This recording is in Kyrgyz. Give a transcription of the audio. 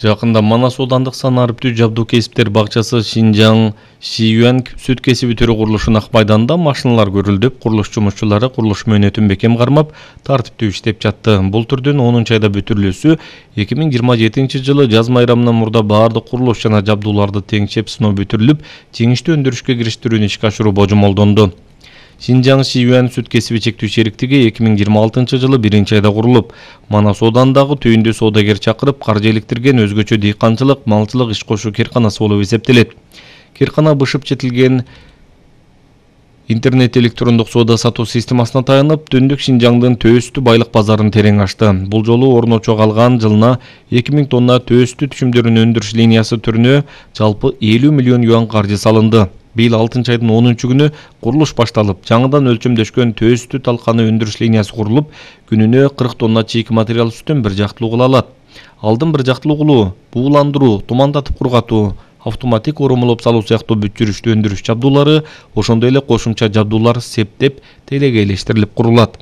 Жакында Манас аудандык санариптүү жабдуу кесиптер бакчасы Шинжаң Шиюан сүт кесиби түрү курулушунун ак майданында машиналар көрүлдүп, курулуш жумушчулары курулуш мөөнөтүн бекем кармап, тартиптүү иштеп жатты. Бул түрдүн 10-айда бүтүрүлүүсү 2027-жылы жаз майрамынан мурда баардык курулуш жана жабдууларды теңшеп сыноо бүтүрүлүп, жеңиштүү өндүрүшкө кириштирүүнү ишке ашыруу божомолдонду. Шинжаң Шиюан сүт кесиби чектүү шериктиги 2026-жылы 1-айда курулуп, Манас аудандагы түйүндө соодагер чакырып, каржы иликтирген өзгөчө дыйканчылык, малчылык иш кошуу кирканасы болуп эсептелет. Киркана бышып четилген интернет электрондук соода сатуу системасына таянып, түндүк Шинжаңдын төөстү байлык базарын терең ачты. Бул жолу орночо калган жылына 2000 тонна төөстү түшүмдөрүн өндүрүш линиясы түрүнө жалпы 50 миллион юан каржы салынды. Быйыл 6-айдын 10-күнү курулуш башталып, жаңыдан өлчөмдөшкөн төөстү талканы өндүрүш линиясы курулуп, күнүнө 40 тонна чийки материал сүтүн бир жактылуу кыла алат. Алдын бир жактылуу кылуу, бууландыруу, тумандатып кургатуу, автоматик оромолоп салуу сыяктуу бүт жүрүштүү өндүрүш жабдуулары, ошондой эле кошумча жабдуулар септеп, телегейлештирилип курулат.